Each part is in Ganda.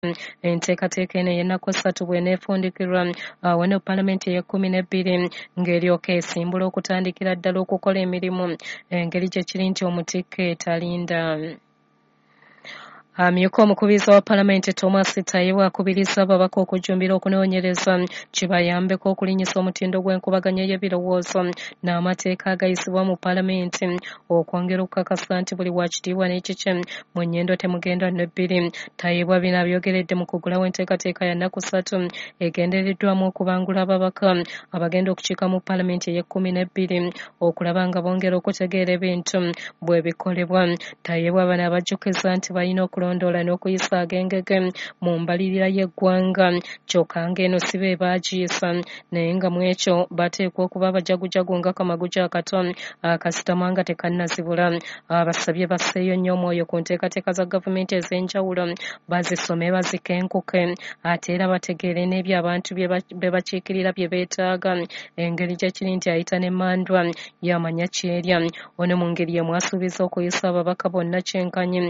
Enteekateeka eno ey'ennaku 3 bw'eneefundikirwa awo ne palamenti ey'ekkumi n'ebbiri ng'eryoka esimbula okutandikira ddala okukola emirimu engeri gye kiri nti omutikke talinda. Amyuka omukubiriza wa palamenti Thomas Tayebwa akubiriza ababaka okujjumbira okunoonyereza kibayambeko okulinnyisa omutindo gw'enkubaganya y'ebirowoozo n'amateeka agayisibwa mu palamenti okwongera okukakasa nti buli wa kitiibwa n'ekikye mu nnyendo temugenda n'ebbiri. Tayebwa bino abyogeredde mu kuggulawo enteekateeka ya nnaku 3 egendereddwamu okubangula ababaka abagenda okukiika mu palamenti ey'ekkumi n'ebbiri okulaba nga bongera okutegeera ebintu bwe bikolebwa. Tayebwa bano abajjukiza nti balina okulondoola n'okuyisa agengege mu mbalirira y'eggwanga kyokka ng'eno si be baagiyisa naye nga mu ekyo bateekwa okuba abajagujagu nga kamaguja akato akasitama nga tekannazibula. Abasabye basseeyo nnyo omwoyo ku nteekateeka za gavumenti ez'enjawulo bazisome bazikenkuke ate era bategeere n'ebyo abantu bye bakiikirira bye beetaaga engeri gye kiri nti ayita n'emmandwa yamanya kyerya. Ono mu ngeri y'emu asuubiza okuyisa ababaka bonna kyenkanyi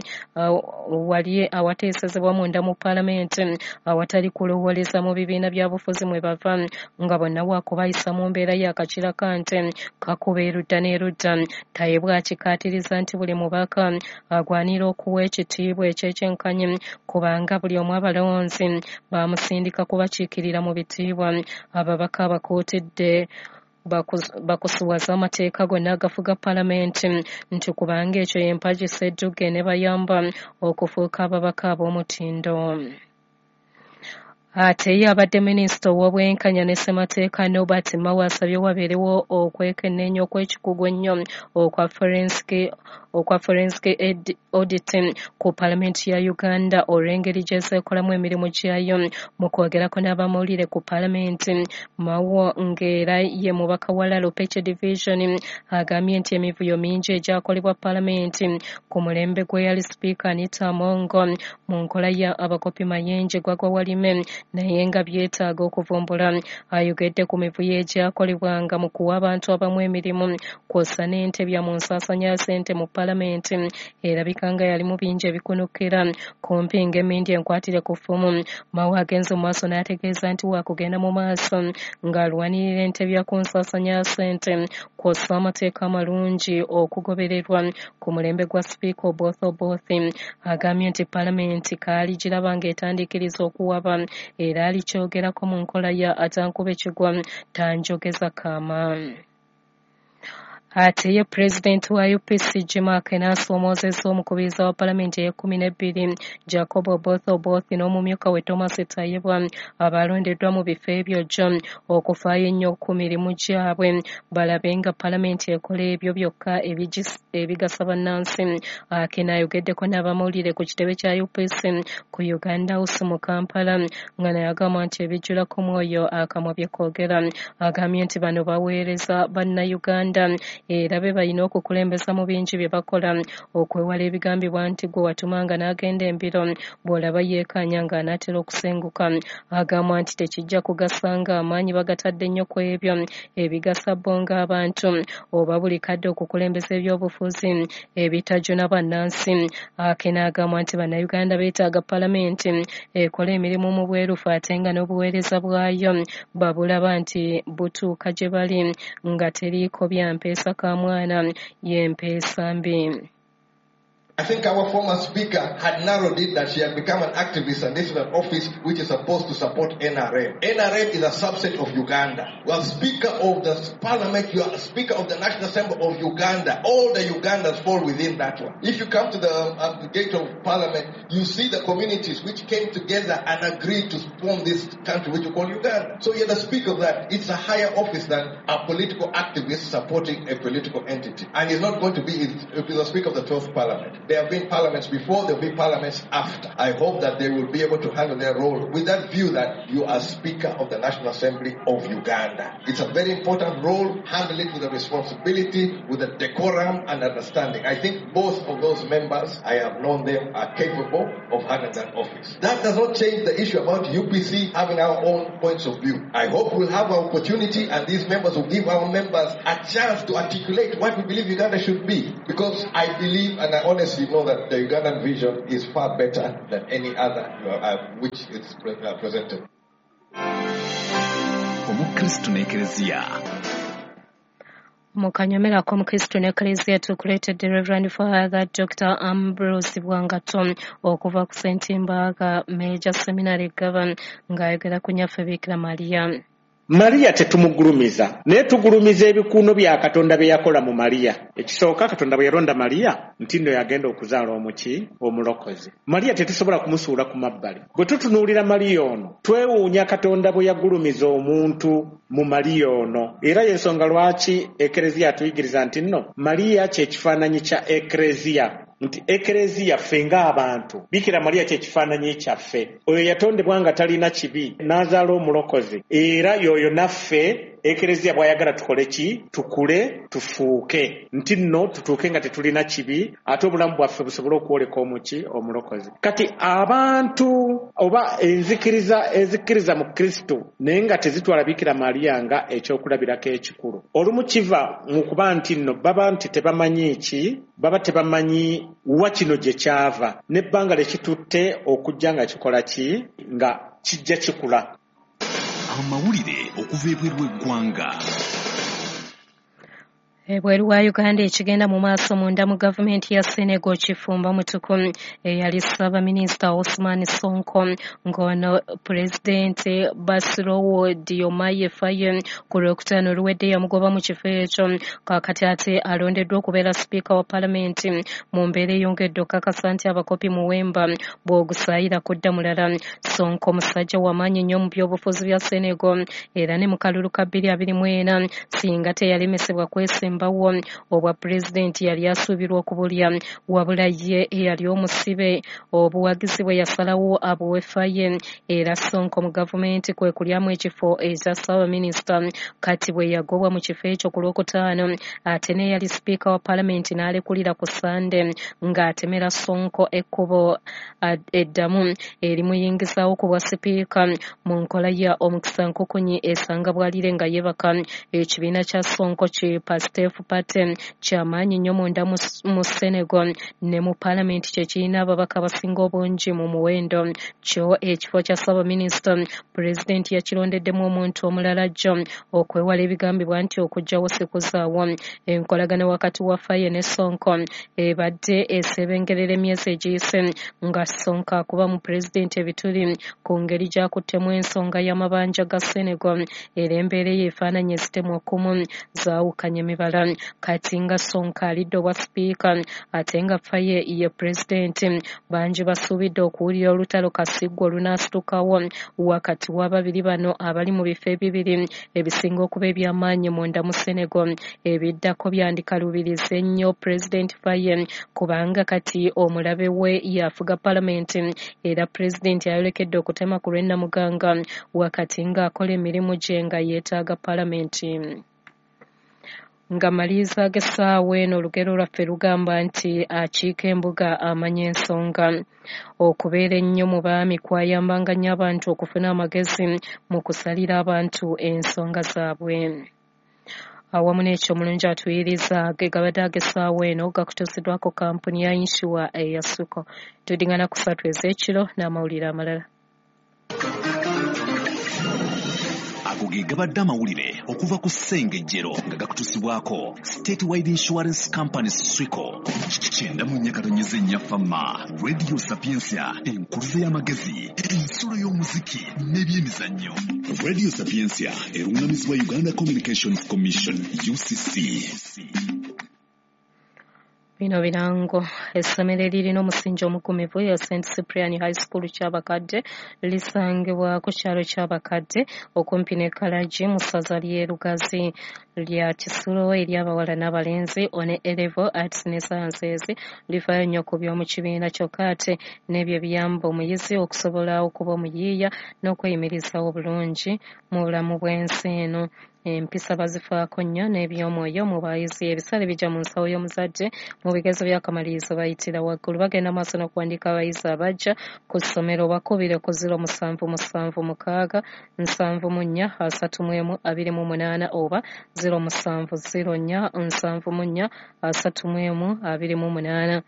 wali awateesezebwa munda mu palamenti awatali kulowooleza mu bibiina bya bufuzi mwe bava nga bonna waakubayisa mu mbeera y'akakira kante kakuba erudda n'erudda. Tayebwa akikaatiriza nti buli mubaka agwanira okuwa ekitiibwa ekyekyenkanyi kubanga buli omu abalonzi bamusindika kubakiikirira mu bitiibwa. Ababaka abakuutidde bakusuwaza amateeka gonna agafuga palamenti nti kubanga ekyo y'empagi sseddugge ne bayamba okufuuka ababaka ab'omutindo. Ate ye abadde minisita ow'obwenkanya ne ssemateeka Norbert Mao asabye wabeerewo okwekenneenya okw'ekikugu ennyo okwa forensic audit ku palamenti ya Uganda olw'engeri gy'ezeekolamu emirimu gyayo. Mu kwogerako n'abamawulire ku palamenti, Mao ng'era ye mubaka wa Lalopeche Division agambye nti emivuyo mingi egyakolebwa palamenti ku mulembe gw'eyali sipiika Anita Among mu nkola ya abakopi Mayenje gwagwa walime naye nga byetaaga okuvumbula. Ayogedde ku mivuyo egyakolebwanga mu kuwa abantu abamu emirimu kw'ossa n'entebya mu nsaasaanya ya ssente mu palamenti erabika nga yalimu bingi ebikunukira kumpi ng'emmindi enkwatire ku ffumu. Mao agenze mu maaso n'ategeeza nti waakugenda mu maaso ng'alwanirira entebya ku nsaasaanya ya ssente kw'ossa amateeka amalungi okugobererwa ku mulembe gwa sipiika Oboth Oboth. Agambye nti palamenti kaaligiraba ng'etandiikiriza okuwaba era alikyogerako mu nkola ya atankuba ekigwa tanjogeza kaama. Ate ye pulezidenti wa UPC Jim Akena asoomoozezza omukubiriza wa palamenti ey'ekkumi n'ebbiri Jacob Oboth Oboth n'omumyuka we Thomas Tayebwa abalondeddwa mu bifo ebyo jjo okufaayo ennyo ku mirimu gyabwe balabe nga palamenti ekola ebyo byokka ebigasa bannansi. Akena ayogeddeko n'abamawulire ku kitebe kya UPC ku Uganda House mu Kampala nga naye agamba nti ebijjulako mwoyo akamwa bye koogera. Agambye nti bano baweereza bannayuganda era be balina okukulembeza mu bingi bye bakola okwewala ebigambibwa nti gwe watumanga n'agenda embiro bw'olaba yeekaanya ng'anaatera okusenguka. Agamba nti tekijja kugasa ng'amaanyi bagatadde nnyo ku ebyo ebigasa bo ng'abantu oba buli kadde okukulembeza ebyobufuzi ebitajuna bannansi. Akena agamba nti bannayuganda beetaaga palamenti ekola emirimu mu bwerufu ate nga n'obuweereza bwayo babulaba nti butuuka gye bali nga teriiko bya mpeesa ka mwana y'empeesa mbi. I think our former speaker had narrowed it that she had become an activist and this is an office which is supposed to support NRM. NRM is a subset of Uganda. You are speaker of the parliament, you are speaker of the National Assembly of Uganda. All the Ugandans fall within that one. If you come to the gate of parliament, you see the communities which came together and agreed to form this country which you call Uganda. So you're the speaker of that. It's a higher office than a political activist supporting a political entity. And it's not going to be, it's the speaker of the 12th parliament. There have been parliaments before, there will be parliaments after. I hope that they will be able to handle their role with that view that you are Speaker of the National Assembly of Uganda. It's a very important role. Handle it with a responsibility, with a decorum and understanding. I think both of those members, I have known them, are capable of handling that office. That does not change the issue about UPC having our own points of view. I hope we'll have our opportunity and these members will give our members a chance to articulate what we believe Uganda should be. Because I believe, and I honestly you know that the Ugandan vision is far better than any other which is presented. Omukristo n'Ekereziya. Mu kanyomero ak'Omukristo n'Ekereziya tukuleetedde Reverend Father Dr. Ambrose Bwangato okuva ku St. Mbaga Major Seminary Gava ng'ayogera ku Nnyaffe Bikira Maria. Maria tetumugulumiza, naye tugulumiza ebikuuno bya Katonda bye yakola mu Maria. Ekisooka, Katonda bwe yalonda Maria nti nno yagenda okuzaala omuki omulokozi. Maria tetusobola kumusuula ku mabbali. Bwe tutunuulira Maria ono, twewuunya Katonda bwe yagulumiza omuntu mu Maria ono. Era y'ensonga lwaki Ekereziya atuyigiriza nti nno Maria kye kifaananyi kya Ekereziya. Nti Ekereziya ffe ng'abantu, Bikira Maria kye kifaananyi kyaffe. Oyo yatondebwa nga talina kibi, n'azaala omulokozi. Era y'oyo naffe Ekereziya bw'ayagala tukole ki? Tukule, tufuuke. Nti nno tutuuke nga tetulina kibi, ate obulamu bwaffe busobole okwoleka omuki omulokozi. Kati abantu oba enzikiriza ezikkiriza mu Kristo naye nga tezitwala Bikira Maria nga ekyokulabirako ekikulu. Olumu kiva mu kuba nti nno baba nti tebamanyi ki, baba tebamanyi wa kino gye kyava, n'ebbanga lye kitutte okujja nga kikola ki, nga kijja kikula. Amawulire okuva ebweru w'eggwanga. Ebweru wa Uganda ekigenda mu maaso munda mu gavumenti ya Senegal kifumba mutuku. Eyali ssaabaminisita Ousmane Sonko ng'ono pulezidenti Bassirou Diomaye Faye ku Lwokutaano oluwedde yamugoba mu kifo ekyo. Kaakati ate alondeddwa okubeera sipiika wa palamenti mu mbeera eyongedde okukakasa nti abakopi muwemba bw'ogusaayira kudda mulala. Sonko musajja w'amaanyi nnyo mu byobufuzi bya Senegal era ne mu kalulu ka 2024 singa teyalemesebwa kwesimbawo obwa pulezidenti yali asuubirwa okubulya, wabula ye eyali omusibe obuwagizi bwe yasalawo abuwe Faye. Era Sonko mu gavumenti kwe kulyamu ekifo ekya ssaabaminisita. Kati bwe yagobwa mu kifo ekyo ku Lwokutaano, ate n'eyali sipiika wa palamenti n'alekulira ku Ssande ng'atemera Sonko ekkubo eddamu erimuyingizaawo ku bwa sipiika mu nkola ya omukisa nkukunyi esanga bw'alire nga yeebaka. Ekibiina kya Sonko ki Pastef Party kyamaanyi nnyo munda mu Senegal ne mu palamenti kye kirina ababaka abasinga obungi mu muwendo. Kyo ekifo kya ssaabaminisita pulezidenti yakirondeddemu omuntu omulala jjo okwewala ebigambibwa nti okuggyawo sikuzaawo. Enkolagana wakati wa Faye ne Sonko ebadde esebengerera emyezi egiyise nga Sonko akuba mu pulezidenti ebituli ku ngeri gy'akuttemu ensonga y'amabanja ga Senegal, era embeera eyo efaananyi ezitemwa okumu zaawukanya emibala. Kati nga Sonko alidde obwa sipiika ate nga Faye ye pulezidenti, bangi basuubidde okuwulira olutalo kasigwa olunaasitukawo wakati w'ababiri bano abali mu bifo ebibiri ebisinga okuba eby'amaanyi munda mu Senegal. Ebiddako byandikalubiriza ennyo pulezidenti Faye kubanga kati omulabe we yafuga palamenti era pulezidenti ayolekedde okutema ku lw'ennamuganga wakati ng'akola emirimu gye nga yeetaaga palamenti. Nga maliriza ag'essaawa eno, olugero lwaffe lugamba nti akiika embuga amanya ensonga. Okubeera ennyo mu baami kwayambanga nnyo abantu okufuna amagezi mu kusalira abantu ensonga zaabwe. Awamu n'ekyo omulungi atuyiriza ge gabadde ag'essaawa eno gakutuusiddwako kampuni ya yinsuwa eya Suko. Tuddingana ku 3 ez'ekiro n'amawulire amalala. Ago ge gabadde amawulire okuva ku Ssengejjero nga gakutuusibwako Statewide Insurance Company Swico. 94.4 Fama, Radio Sapientia, enkuluze y'amagezi, ensulo y'omuziki n'ebyemizannyo. Radio Sapientia erungamizibwa Uganda Communications Commission UCC. Bino birango. Essomero eririna omusingi omugumivu ya St. Cyprian High School Kyabakadde lisangibwa ku kyalo Kyabakadde okumpi ne Kalagi mu ssaza ly'e Lugazi. Lya kisulo eri abawala n'abalenzi one A-level Arts ne Sciences. Lifaayo nnyo ku by'omu kibiina kyokka ate n'ebyo ebiyamba omuyizi okusobola okuba omuyiiya n'okweyimirizaawo obulungi mu bulamu bw'ensi eno. Empisa bazifaako nnyo n'ebyomwoyo mu bayizi. Ebisale bijja mu nsawo y'omuzadde. Mu bigezo by'akamalirizo bayitira waggulu. Bagenda maaso n'okuwandiika abayizi abajja ku ssomero. Bakubire ku 0776 74 31 28 oba 0704 74 31 28.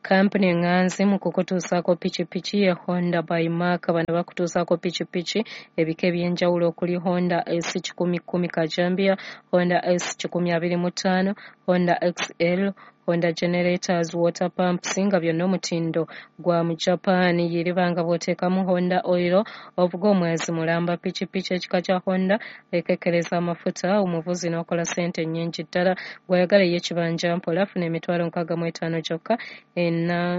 Kampuni eŋŋanzi mu kukutuusaako pikipiki ye Honda by Mark. Bano bakutuusaako pikipiki ebika eby'enjawulo okuli Honda S 110 Kajambia, Honda S 125, Honda XL, Honda generators, water pumps nga byonna omutindo gwa mu Japan. Yiriba nga bw'oteekamu Honda oil ovuga omwezi mulamba. Pikipiki ekika kya Honda ekekkereza amafuta omuvuzi n'okola ssente nnyingi ddala. Gw'oyagala ey'ekibanja mpola funa 65,000 gyokka,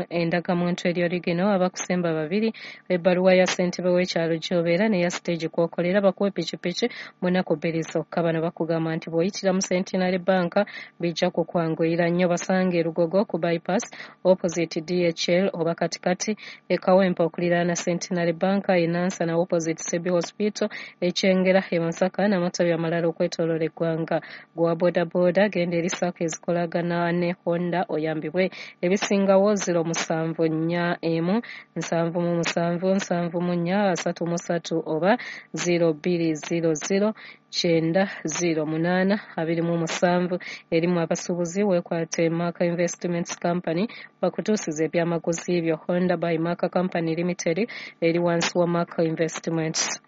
endagamuntu eri origino, abakusemba babiri, ebbaluwa ya ssentebe w'ekyalo gy'obeera n'eya siteegi kw'okolera, bakuwe pikipiki mu nnaku 2 zokka. Bano bakugamba nti bw'oyitira mu Centenary Bank bijja kukwanguyira nnyo. Basange Lugogo ku bypass opposite DHL oba katikati e Kawempe okuliraana Centenary Bank, e Nansana opposite Sebi Hospital, e Kyengera, e Masaka n'amatabi amalala okwetooloola eggwanga. Gwa boodabooda genda eri SACCO ezikolagana ne Honda oyambibwe. Ebisingawo 0741 77 74 33 oba 0200 908 27. Erimu abasuubuzi weekwate Mark Investments Company bakutuusiza ebyamaguzi byo. Honda by Mark Company Limited eri wansi wa Mark Investments.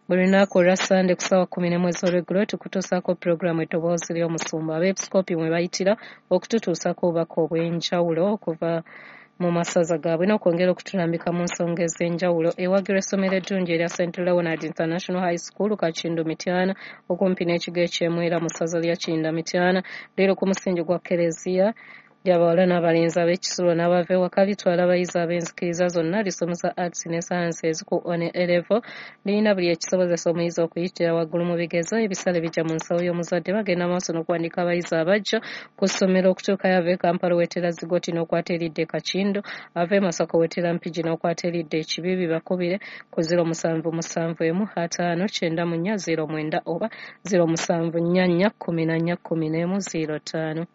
Buli lunaku olwa Ssande ku ssaawa 11 ez'olweggulo tukutuusaako pulogulaamu Eddoboozi ly'Omusumba. Abeepiskoopi mwe bayitira okututuusaako obubaka obw'enjawulo okuva mu masaza gaabwe n'okwongera okutulambika mu nsonga ez'enjawulo. Ewagirwa essomero eddungi erya St Leonard International High School Kakindu Mityana okumpi n'ekigo eky'Emwera mu ssaza lya Kiyinda Mityana. Leero ku musingi gwa Kereziya ly'abawala n'abalenzi ab'ekisulo n'abava ewaka litwala abayizi ab'enzikiriza zonna, lisomesa arts ne sciences ku one level, lirina buli ekisobozesa omuyizi okuyitira waggulu mu bigezo. Ebisale bijja mu nsawo y'omuzadde. Bagenda maaso n'okuwandiika abayizi abajja ku ssomero okutuukayo. Ava e Kampala weetera Zigoti n'okwata eridda e Kakindu, ava e Masaka weetera Mpigi n'okwata eridda e Kibibi. Bakubire ku 0771 594 09 oba 0744 14 11 05.